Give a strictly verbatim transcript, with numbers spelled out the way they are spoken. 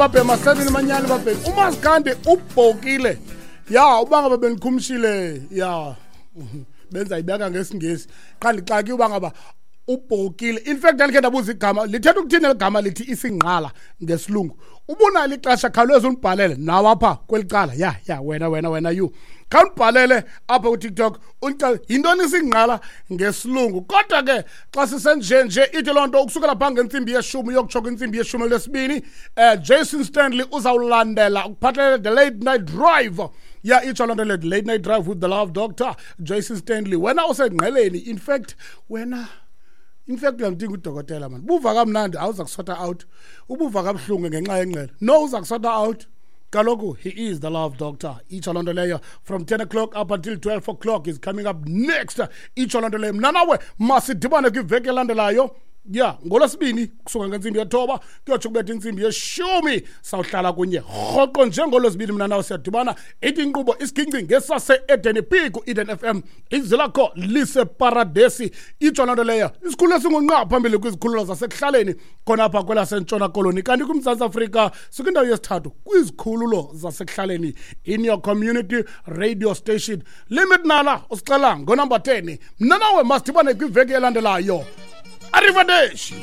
Babhema seven manyani babhema. Umaskandi ubhokile. Ya uba ngaba benikhumshile ya benza ibeka ngesingesi. Qha ndixaki uba ngaba ubhokile. In fact ndandikhe ndabuza igama lithetha ukuthini eli gama lithi isingqala ngesilungu. Ubunalo ixesha khawuleza undibhalele nawe apha kweli cala. Ya ya wena wena wena you. Khawundibhalele apha kuTikTok undixelele yintoni isingqala ngesilungu. Kodwa ke xa sisenje nje ithi loo nto ukusukela phaa ngentsimbi yeshumi uyokutsho kwintsimbi yeshumi lesibini eh Jason Stanley uzawulandela ukuphathelele the late night drive. Ya itsho loo nto le late night drive with the love doctor Jason Stanley. Wena usengqeleni in fact wena in fact uyamdinga udokotela man. Buva kamnandi awuza kusota out. Ubuva kabuhlungu ngenxa yengqele. No uza kusota out. Kaloku he is the love doctor. Itsho loo nto leyo from ten o'clock up until twelve o'clock is coming up next. Itsho loo nto leyo mna nawe masidibane kwiveki elandelayo. Ya ngolwesibini kusuka ngentsimbi yethoba kuyotsho kubetha intsimbi yeshumi sawuhlala kunye rhoqo njengolwesibini mna nawe siyadibana. Ithi inkqubo isiginci ngesase-Eden P ku-Eden F M izwi lakho liseparadesi. Itsho loo nto leyo isikhululo esingunqa phambili kwizikhululo zasekuhlaleni khona apha kwelaseNtshona Koloni. Kanti kuMzantsi Afrika sikwindawo yesithathu kwizikhululo zasekuhlaleni in your community radio station. Limit Nala usixela ngonumber ten. Mna nawe masidibane kwiveki elandelayo. Arrivederci.